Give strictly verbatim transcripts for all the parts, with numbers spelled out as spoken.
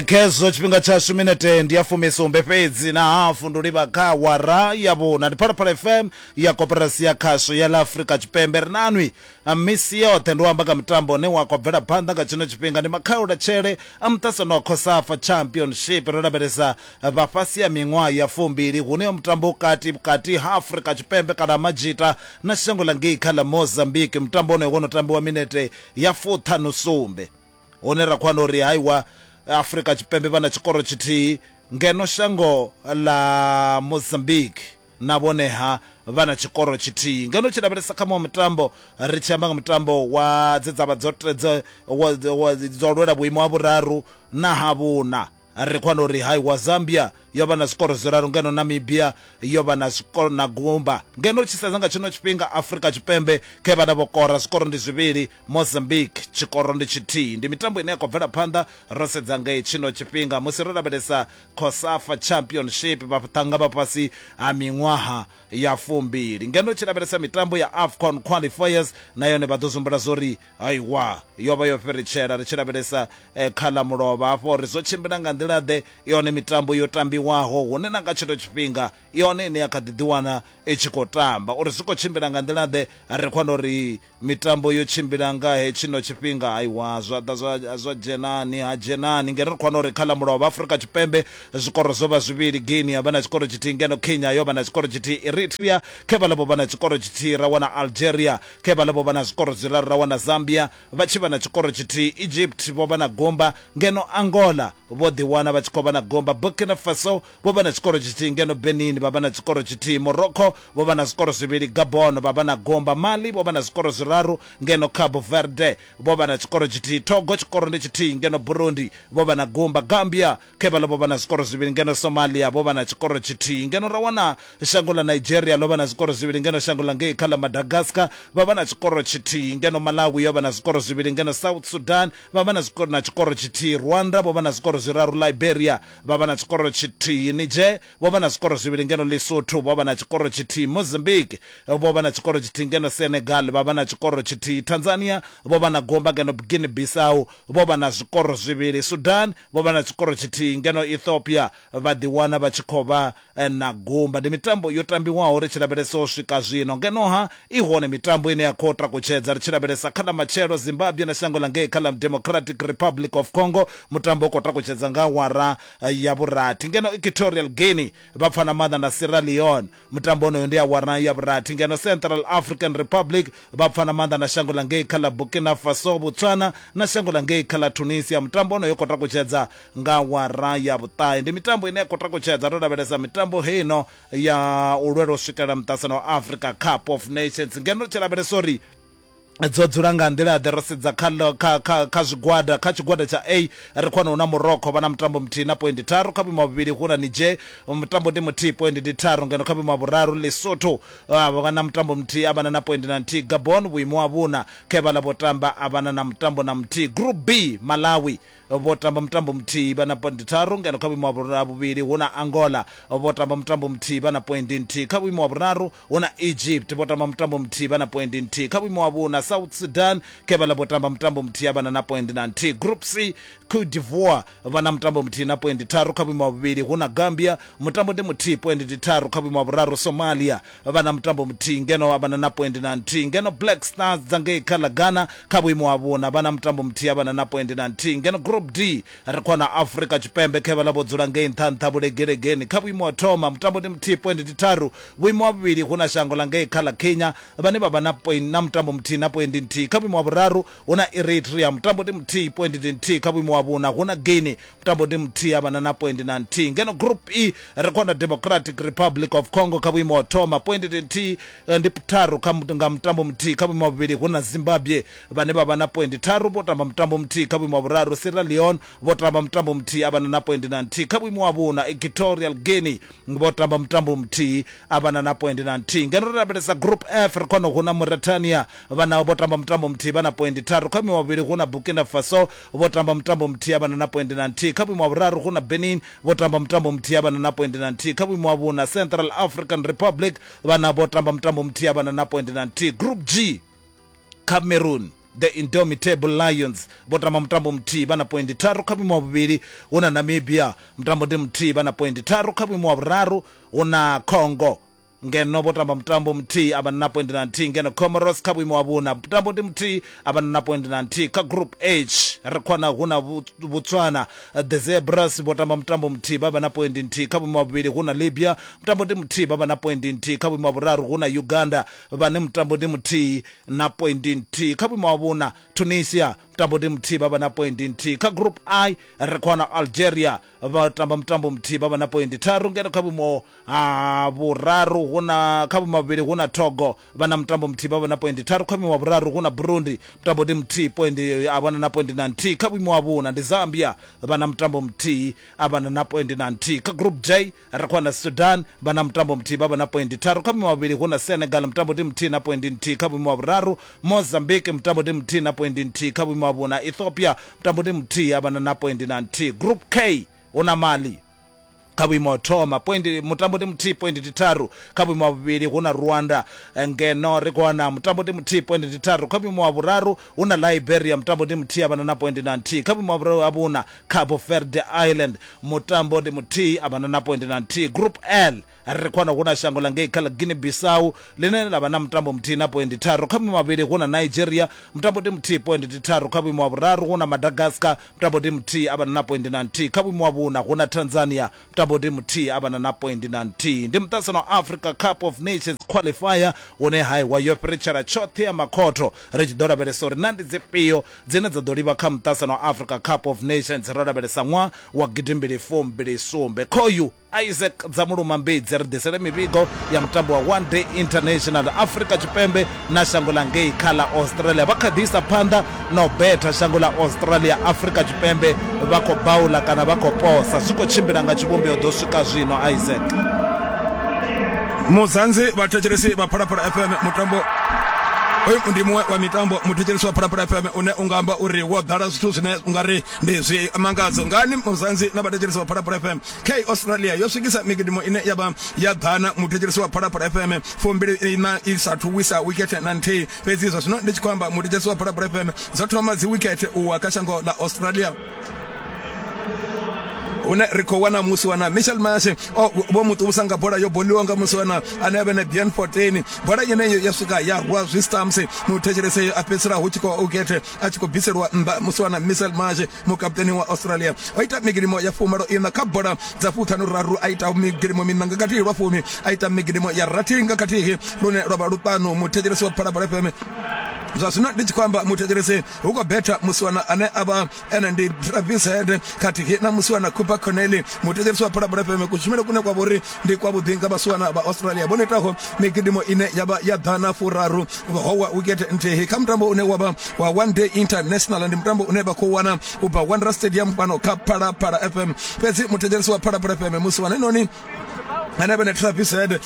Khezwo tshifhinga tshashu minete ndi ya fumisumbe fhedzi na hafu ndo livha kha awara ya vhuna. Ndi Phalaphala F M ya Koporasi ya Khasho ya ḽa Afrika Tshipembe. Ri nanwi misi yoṱhe ndi u amba nga mutambo une wa khou bvela phanḓa nga tshino tshifhinga, ndi makhaulatshele a muṱasano wa COSAFA Championship. Ro lavhelesa vha fhasi ya miṅwaha ya fumbili, hune mutambo u kati vhukati ha Afrika Tshipembe kana Majita na shango ḽa ngei kha ḽa Mozambique. Mutambo wonoyo wo no tambiwa minete ya fuṱhanu sumbe, hune ra khou wana uri haiwa Afrika Tshipembe vha na tshikoro tshithihi, ngeno shango ḽa Mozambique na vhoneha vha na tshikoro tshithihi. Ngeno tshi lavhelesa kha muṅwe mutambo, ri tshi amba nga mutambo wa dze dza vha dzo dzo lwela vhuimo ha vhuraru na ha vhuna, ri khou wana uri haiwa Zambia yo vha na zwikoro zwiraru, ngeno Namibia yo vha na zwikoro na gumba. Ngeno tshi sedza nga tshino tshifhinga Afrika Tshipembe khe vhana vho kora zwikoro ndi zwivhili, Mozambique tshikoro ndi tshithihi. Ndi mitambo ine ya khou bvela phanḓa ro sedza ngei tshino tshifhinga musi ro lavhelesa COSAFA Championship vhaṱhannga vha fhasi ha miṅwaha ya fumbili. Ngeno tshi lavhelesa mitambo ya AFCON qualifiers na yone vha ḓo zumbula zwori aiwa yo vha yo fhiritshela. Ri tshi lavhelesa eh, kha ḽa mulovha hafho uri zwo tshimbila nga nḓila ḓe, yone mitambo yo tambiwaho hune na nga tshino tshifhinga yone ine ya kha ḓi ḓiwana i tshi khou tamba, uri zwi khou tshimbila nga nḓila ḓe. Ri khou wana uri mitambo yo tshimbila nga he tshino tshifhinga, aiwa zwa ḓa zwa zwa dzhenani ha dzhenani. Ngeno ri khou wana uri kha ḽa mulovha Afrika Tshipembe zwikoro zwo vha zwivhili, Guinea vha na tshikoro tshithihi, ngeno Kenya yo vha na tshikoro tshithihi, Eritrea khe vha ḽa vha na tshikoro tshithihi, ra wana Algeria khe vha ḽa vha na zwikoro zwiraru, ra wana Zambia vha tshi vha na tshikoro tshithihi, Egypt vho vha na gumba, ngeno Angola vho ḓiwana vha tshi khou vha na gumba, Burkina Faso vho vha na tshikoro tshithihi, ngeno Benin vha vha na tshikoro tshithihi, Morocco vho vha na zwikoro zwivhili, Gabon vha vha na gumba, Mali vho vha na zwikoro zwiraru, ngeno Cabo Verde vho vha na tshikoro tshithihi, Togo tshikoro ndi tshithihi, ngeno Burundi vho vha na gumba, Gambia khe vha vho vha na zwikoro zwivhili, ngeno Somalia vho vha na tshikoro tshithihi. Ngeno ra wana shango ḽa Nigeria ḽo vha na zwikoro zwivhili, ngeno shango ḽa ngei kha ḽa Madagascar vha vha na tshikoro tshithihi, ngeno Malawi yo vha na zwikoro zwivhili, ngeno South Sudan vha vha na zwikoro na tshikoro tshithihi, Rwanda vho vha na zwikoro zwiraru, Liberia vha vha na tshikoro tshithihi, Niger vho vha na zwikoro zwivhili, ngeno Lesotho vho vha na tshikoro tshithihi, Mozambique vho vha na tshikoro tshithihi, ngeno Senegal vha vha na tshikoro tshithihi, Tanzania vho vha na gumba, ngeno Guinea Bissau vho vha na zwikoro zwivhili, Sudan vho vha na tshikoro tshithihi, ngeno Ethiopia vha ḓiwana vha tshi khou vha na gumba. Ndi mitambo yo tambiwaho ri tshi lavhelesa u swika zwino. Ngeno ha i hone mitambo ine ya khou takutshedza ri tshi lavhelesa kha ḽa matshelo, Zimbabwe na shango ḽa ngei kha ḽa Democratic Republic of Congo, mutambo u khou takutshedza nga awara ya vhurathi. Ngeno Equatorial Guinea vha pfana maanḓa na Sierra Leone, mutambo wonoyo ndi awara ya vhurathi. Ngeno Central African Republic vha pfana maanḓa na shango ḽa ngei kha ḽa Burkina Faso, Botswana na shango ḽa ngei kha ḽa Tunisia, mutambo wonoyo u khou takutshedza nga awara ya vhuṱahe. Ndi mitambo ine ya khou takutshedza ro lavhelesa mitambo heino ya u lwela u swikelela muṱasano wa Africa Cup of Nations. Ngeno ri tshi lavhelesa uri dzo dzula nga nḓila ḓe, ro sedza kha kha kha kha zwigwada. Kha tshigwada tsha A ri khou wana hu na Morocco vha na mutambo muthihi na poindi tharu, kha vhuimo ha vhuvhili hu na Niger mutambo ndi muthihi poindi ndi tharu, ngeno kha vhuimo ha vhuraru Lesotho vha na mutambo muthihi a vhana na poindi na nthihi, Gabon vhuimo ha vhuna khe vhaḽa vho tamba a vhana na mutambo na muthihi. Group B Malawi vho tamba mutambo muthihi vha na poindi tharu, ngeno kha vhuimo ha vhuvhili hu na Angola vho tamba mutambo muthihi vha na poindi nthihi, kha vhuimo ha vhuraru hu na Egypt vho tamba mutambo muthihi vha na poindi nthihi, kha vhuimo ha vhuna South Sudan khe vhaḽa vho tamba mutambo muthihi a vhana na poindi na nthihi. Group C Cote d'Ivoire vha na mutambo muthihi na poindi tharu, kha vhuimo ha vhuvhili hu na Gambia mutambo ndi muthihi poindi ndi tharu, kha vhuimo ha vhuraru Somalia vha na mutambo muthihi ngeno a vhana na poindi na nthihi, ngeno Black Stars dza ngei kha ḽa Ghana kha vhuimo ha vhuna vha na mutambo muthihi a vhana na poindi na nthihi. Ngeno Group D ri khou wana Afrika Tshipembe khe vhaḽa vho dzula ngei nṱha nṱha vhulegelegeni, kha vhuimo ha thoma mutambo ndi muthihi poindi ndi tharu, vhuimo ha vhuvhili hu na shango ḽa ngei kha ḽa Kenya vhane vha vha na point na mutambo muthihi na poindi nthihi, kha vhuimo ha vhuraru hu na Eritrea mutambo ndi muthihi poindi ndi nthihi, kha vhuimo ha vhuna hu na Guinea mutambo ndi muthihi a vhana na poindi na nthihi. Ngeno Group E ri khou wana Democratic Republic of Congo kha vhuimo ha thoma poindi ndi nthihi ndi tharu kha nga mutambo muthihi, kha vhuimo ha vhuvhili hu na Zimbabwe vhane vha vha na poindi tharu vho tamba mutambo muthihi, kha vhuimo ha vhuraru Sierra Leone vho tamba mutambo muthihi a vhana na poindi na nthihi, kha vhuimo ha vhuna Equatorial Guinea vho tamba mutambo muthihi a vhana na poindi na nthihi. Ngeno ri lavhelesa Group F ri khou wana hu na Mauritania vhana vho tamba mutambo muthihi vha na poindi tharu, kha vhuimo ha vhuvhili hu na Burkina Faso vho tamba mutambo muthihi a vhana na poindi na nthihi, kha vhuimo ha vhuraru hu na Benin vho tamba mutambo muthihi a vhana na poindi na nthihi, kha vhuimo ha vhuna Central African Republic vhana vho tamba mutambo muthihi a vhana na poindi na nthihi. Group G Cameroon The Indomitable Lions vho tamba mutambo muthihi vha na poindi tharu. Kha vhuimo ha vhuvhili hu na Namibia, mutambo ndi muthihi vha na poindi tharu. Kha vhuimo ha vhuraru hu na Congo, ngeno vho tamba mutambo muthihi a vha na poindi na nthihi. Ngeno Comoros kha vhuimo ha vhuna, mutambo ndi muthihi a vha na poindi na nthihi. Kha group H ri khou wana hu na Botswana, the Zebras vho tamba mutambo muthihi vha vha na poindi nthihi. Kha vhuimo ha vhuvhili hu na Libya, mutambo ndi muthihi vha vha na poindi nthihi. Kha vhuimo ha vhuraru hu na Uganda, vhane mutambo ndi muthihi na poindi nthihi. Kha vhuimo ha vhuna Tunisia, mutambo ndi muthihi vha vha na poindi nthihi. Kha group I ri khou wana Algeria, vha tamba mutambo muthihi vha vha na poindi tharu. Ngeno kha vhuimo ha vhuraru hu na, kha vhuimo ha vhuvhili hu na Togo, vha na mutambo muthihi vha vha na poindi tharu. Kha vhuimo ha vhuraru hu na Burundi, mutambo ndi muthihi poindi a vha na poindi na nthihi. Kha vhuimo ha vhuna ndi Zambia, vha na mutambo muthihi a vha na poindi na nthihi. Kha group J ri khou wana Sudan, vha na mutambo muthihi vha vha na poindi tharu. Kha vhuimo ha vhuvhili hu na Senegal, mutambo ndi muthihi na poindi nthihi. Kha vhuimo ha vhuraru Mozambique, mutambo ndi muthihi na poindi nthihi. Kha vhuimo ha vhuna Ethiopia, mutambo ndi muthihi a vha na poindi na nthihi. Group K hu na Mali kha vhuimo ha thoma, poindi mutambo ndi muthihi poindi ndi tharu. Kha vhuimo ha vhuvhili hu na Rwanda, ngeno ri khou wana mutambo ndi muthihi poindi ndi tharu. Kha vhuimo ha vhuraru hu na Liberia, mutambo ndi muthihi a vha na poindi na nthihi. Kha vhuimo ha vhuna Cabo Verde Island, mutambo ndi muthihi a vha na poindi na nthihi. Group L ri khou wana hu na shango ḽa ngei kha ḽa Guinea Bissau ḽine ḽa vha na mutambo muthihi na poindi tharu. Kha vhuimo ha vhuvhili hu na Nigeria, mutambo ndi muthihi poindi ndi tharu. Kha vhuimo ha vhuraru hu na Madagascar, mutambo ndi muthihi a vha na poindi na nthihi. Kha vhuimo ha vhuna hu na Tanzania, mutambo ndi muthihi a vha na poindi na nthihi. Ndi muṱaṱisano wa Africa Cup of Nations qualifier une haiwa yo fhiritshela tshoṱhe ya makhotho, ri tshi ḓo lavhelesa uri na ndi dzifhio dzine dza ḓo livha kha muṱaṱisano wa Africa Cup of Nations ro lavhelesa ṅwaha wa gidimbili fumbili sumbe. Khoyu Isaac Dzamuluma Mbidzi ri ḓisele mivhigo ya mutambo wa One Day International. Afrika Tshipembe na shango ḽa ngei kha ḽa Australia vha kha ḓi isa phanḓa na u betha shango ḽa Australia. Afrika Tshipembe vha khou baula kana vha khou posa, zwi khou tshimbila nga tshivhumbeo ḓo swika zwino. Isaac Muzanzi, vhathetshelesi vha Phalaphala F M, mutambo hoyu ndi muṅwe wa mitambo, muthetshelesi wa Phalaphala F M, une unga amba uri wo ḓala zwithu zwine ungari ndi zwi mangadzo ngani. Muzanzi na vhathetshelesi vha Phalaphala F M, K Australia yo swikisa migidimo ine ya vha ya ḓana, muthetshelesi wa Phalaphala F M, fumbili ina i sathu wisa wikete na nthihi. Fhedzi zwa zwino ndi tshi khou amba, muthetshelesi wa Phalaphala F M, dzo thoma dzi wikete uwa kha shango ḽa Australia, hune ri khou wana musi wana Michel Marsh o vho muṱusa nga bola yo boliwa nga musi wana ane a vha na Bien Fortin. Bola yeneyo ya swika ya rwa zwi stumps, muthetshelesi a fhedzisela hu tshi khou ukete a tshi khou bviselwa nnḓa. Musi wana Michel Marsh, mukaputeni wa Australia, o ita migidimo ya fumalo ina kha bola dza fuṱhanu raru, a ita migidimo miṋa nga khathihi lwa fumi, a ita migidimo ya rathi nga khathihi lune lwa vha luṱanu. Muthetshelesi wa Phalaphala F M, zwa zwino ndi tshi khou amba, muthetshelesi, hu khou betha musiwana ane a vha ene ndi Travis Head khathihi na musiwana Cooper Connelly. Muthetshelesi wa Phalaphala F M, kushumele kune kwa vhori ndi kwavhuḓi nga vhasiwana vha Australia vho itaho migidimo ine ya vha ya ḓana furaru, howa wicket nthihi kha mutambo une wa vha wa One Day International. Ndi mutambo une vha khou wana u bva Wanderers Stadium fhano kha Phalaphala F M. Fhedzi muthetshelesi wa Phalaphala F M, musiwana noni ane vha na Travis Head,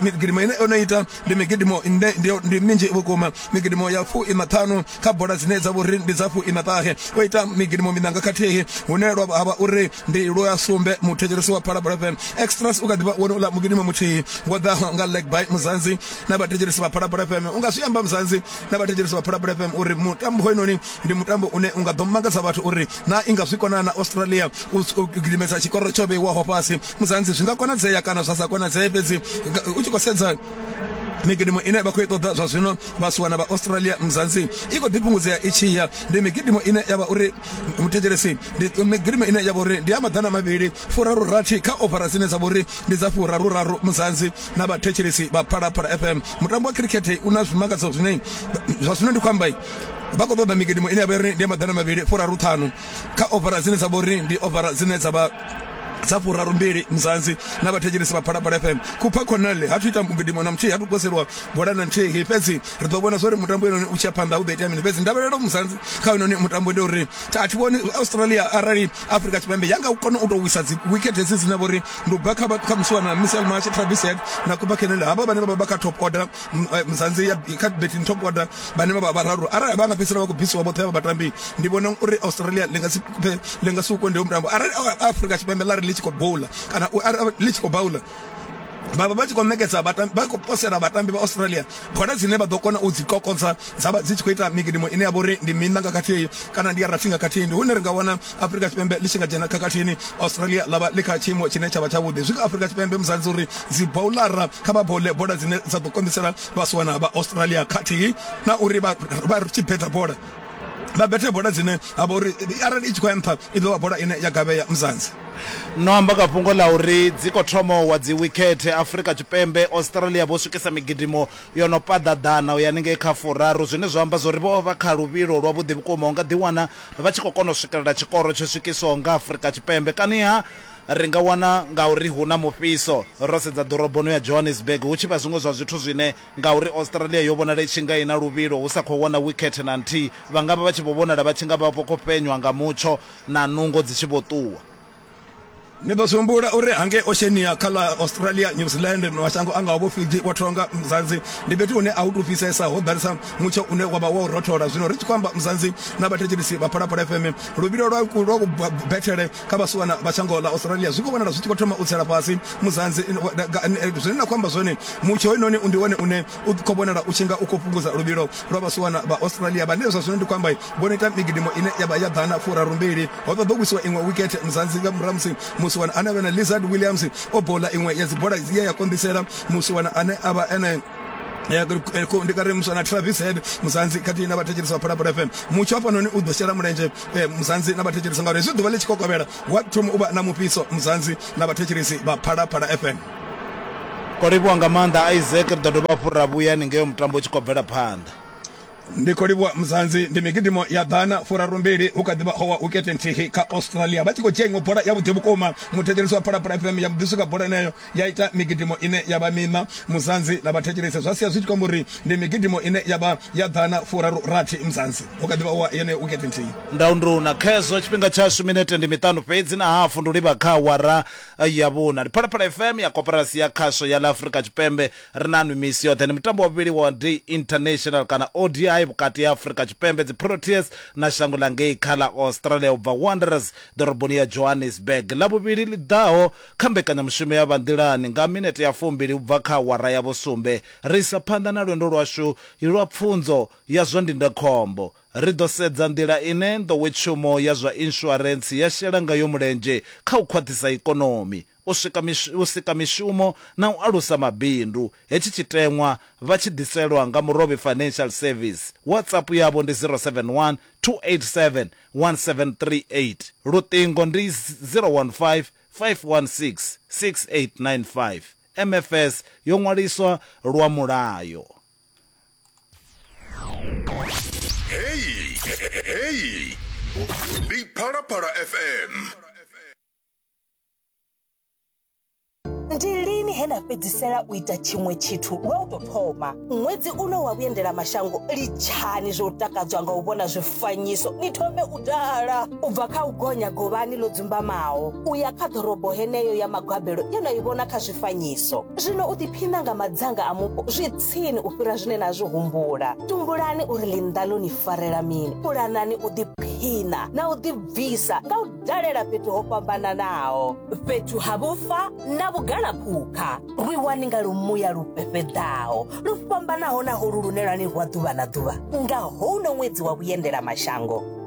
migidimo ine ono ita ndi migidimo ine ndi minzhi vhukuma, migidimo ya fu ina ṱhanu kha bola dzine dza vhori ndi dza fu ina ṱahe. O ita migidimo miṋa nga khathihi hune lwa havha uri ndi lwa sumbe. Muthetshelesi wa Phalaphala F M, extras u kha ḓivha wone uḽa mugidimo muthihi wo ḓaho nga leg by. Muzanzi na vhathetshelesi vha Phalaphala F M, u nga zwi amba Muzanzi na vhathetshelesi vha Phalaphala F M uri mutambo hoyunoni ndi mutambo une unga ḓo mangadza vhathu uri na i nga zwi kona na Australia u gidimesa tshikoro tsho vheiwaho fhasi. Muzanzi, zwi nga konadzea kana zwa sa konadzea? Fhedzi u tshi khou sedza migidimo ine vha khou i ṱoḓa zwa zwino vhasiwana vha Australia, Mzansi, i khou ḓi fhungudzea i tshi ya. Ndi migidimo ine ya vha uri, muthetshelesi, ndi migidimo ine ya vha uri ndi ya maḓana mavhili furaru rathi kha ovara dzine dza vha uri ndi dza furaru raru. Mzansi na vhathetshelesi vha Phalaphala F M, mutambo wa cricket u na zwimangadzo zwine zwa zwino ndi khou amba vha khou ṱoḓa migidimo ine ya vha uri ndi ya maḓana mavhili furaru ṱhanu kha ovara dzine dza vha uri ndi ovara dzine dza vha dza furaru mbili. Mzansi na vhathetshelesi vha Phalaphala F M, Cooper Connelly ha thu ita mugidimo na muthihi, ha thu poselwa bola na nthihi. Fhedzi ri ḓo vhona zwori mutambo inoni u tshiya phanḓa hu ḓo itea mini. Fhedzi ndavhelelo, Mzansi, kha inoni mutambo ndi uri a thi vhoni Australia, arali Afrika Tshipembe ya nga kona u tou wisa dzi wicket hedzi dzine vha uri ndi u bva kha kha musiwana Michel Marsh, Travis Head na Cooper Connelly, havha vhane vha vha kha top order, Mzansi, ya kha betting top order, vhane vha vha vhararu, arali vha nga fhedzisela vha khou bvisiwa vhoṱhe havha vhatambi, ndi vhona uri Australia ḽi nga si ḽi nga si u konde mutambo. Arali Afrika Tshipembe ḽa ri ḽi tshi khou bowla kana ḽi tshi khou bowla Vha vha vha tshi khou ṋekedza vhatambi, vha khou posela vhatambi vha Australia bola dzine vha ḓo kona u dzi kokodza dza vha dzi tshi khou ita migidimo ine ya vha uri ndi miṋa nga khathihi kana ndi ya rathi nga khathihi. Ndi hune ri nga wana Afrika Tshipembe ḽi tshi nga dzhena khakhathini, Australia ḽa vha ḽi kha tshiimo tshine tsha vha tshavhuḓi. Zwi kha Afrika Tshipembe Mzansi uri dzi bowlara kha vha bole bola dzine dza ḓo konḓisela vhasiwana vha Australia, khathihi na uri vha vha tshi betha bola vha bethe bola dzine ha vha uri arali i tshi khou ya nṱha i ḓo vha bola ine ya gavhea Mzansi. No amba nga fhungo ḽa uri dzi khou thoma wa dzi wikhethe Afrika Tshipembe, Australia vho swikisa migidimo yo no paḓa ḓana u ya haningei kha furaru, zwine zwa amba zwori vho vha kha luvhilo lwavhuḓi vhukuma, u nga ḓiwana vha tshi khou kona u swikelela tshikoro tsho swikiswaho nga Afrika Tshipembe. Kaniha ri nga wana ngauri hu na mufhiso ro sedza ḓoroboni ya Johannesburg hu tshi vha zwiṅwe zwa zwithu zwine ngauri Australia yo vhonala i tshi nga ina luvhilo hu sa khou wana wikhethe na nthihi, vha nga vha vha tshi vho vhonala vha tshi nga vha vho khou fhenywa nga mutsho na nungo dzi tshi vho ṱuwa. Ni ḓo zwi humbula uri hangei Oceania kha ḽa Australia, New Zealand, mashango a ngaho vho Fiji, vho Tonga, Mzansi ndi fhethu hune a hu tou fhisesa, ho ḓalesa mutsho une wa vha wo rothola. Zwino ri tshi khou amba Mzansi na vhathetshelesi vha Phalaphala F M, luvhilo lwa lwa kubethele kha vhasiwana vha shango ḽa Australia zwi khou vhonala zwi tshi khou thoma u tsela fhasi Mzansi. Zwine nda khou amba zwone, mutsho hoyunoni ndi wone une u khou vhonala u tshi nga u khou fhungudza luvhilo lwa vhasiwana vha Australia, vhane zwa zwino ndi khou amba vho no ita migidimo ine ya vha ya ḓana furaru mbili. Ho ṱoḓa u wisiwa iṅwe wikhethe Mzansi nga murahu musi musiwana ane avha na Lizard Williams o bola iṅwe ya dzibola ye ya konḓisela musiwana ane avha ene ndi kare muswana Travis Head Mzansi khathihi na vhathetshelesi vha Phalaphala F M. Mutsho hafhanoni u ḓo shela mulenzhe Mzansi na vhathetshelesi ngauri hezwi ḓuvha ḽi tshi kokovhela wa thoma u vha na mufhiso Mzansi na vhathetshelesi vha Phalaphala F M. Ko livhuwa nga maanḓa Isaac, ri ḓo dovha hafhu ra vhuya haningei mutambo u tshi khou bvela phanḓa. Ndi khou livhuwa Mzansi. Ndi migidimo ya ḓana furaru mbili hu kha ḓivha howa wikete nthihi kha Australia, vha tshi khou dzhia iṅwe bola ya vhuḓi vhukuma. Muthetshelesi wa Phalaphala F M ya ḓi swika bola eneyo ya ita migidimo ine ya vha miṋa Mzansi na vhathetshelesi, zwa sia zwi tshi khou amba uri ndi migidimo ine ya vha ya ḓana furaru rathi Mzansi, hu kha ḓivha howa yeneyo wikete nthihi. Ndaunduna khezwo tshifhinga tshashu minete ndi miṱanu fhedzi na hafu ndi u livha kha awara ya vhuna. Ndi Phalaphala F M ya Koporasi ya Khasho ya ḽa Afrika Tshipembe, ri na nwi misi yoṱhe. Ndi mutambo wa vhuvhili wa Day International kana O D I vhukati ha Afrika Tshipembe dzi Proteas na shango ḽa ngei kha ḽa Australia u bva Wanderers ḓoroboni ya Johannesburg. Ḽa vhuvhili ḽi ḓaho kha mbekanyamushumo ya vhanḓilani nga minete ya fumbili u bva kha awara ya vhusumbe, ri isa phanḓa na lwendo lwashu lwa pfunzo ya zwa ndindakhombo. Ri ḓo sedza nḓila ine nḓowetshumo ya zwa insurance ya shela ngayo mulenzhe kha u khwaṱhisa ikonomi, u swika u sika mishumo na u alusa mabindu. Hetshi tshiteṅwa vha tshi ḓiselwa nga Murovhi Financial Service. WhatsApp yavho ndi zero seven one two eight seven one seven three eight. Luṱingo ndi zero one five five one six six eight nine five. M F S yo ṅwaliswa lwa mulayo. Hey, hey, ndi Phalaphala F M. Ndi lini he na fhedzisela u ita tshiṅwe tshithu lwa u tou thoma? Ṅwedzi uno wa vhuendela mashango, litshani zwo takadzwa nga u vhona zwifanyiso, ni thome u dala. U bva kha u gonya govhani ḽo dzumbamaho u ya kha ḓorobo heneyo ya magabelo ye na i vhona kha zwifanyiso. Zwino u ḓiphina nga madzanga a mupo zwi tsini u fhira zwine na zwi humbula. Tumbulani uri ḽinnḓa ḽo ni farela mini, pulanani u ḓiphina na u ḓibvisa nga u dalela fhethu ho fhambananaho, fhethu ha vhufa na vhugala phukha. Rwiwani nga lumuya lu fhefheḓaho lu fhambanaho na holu lune lwa ni rwa ḓuvha na ḓuvha nga houno ṅwedzi wa vhuendela mashango.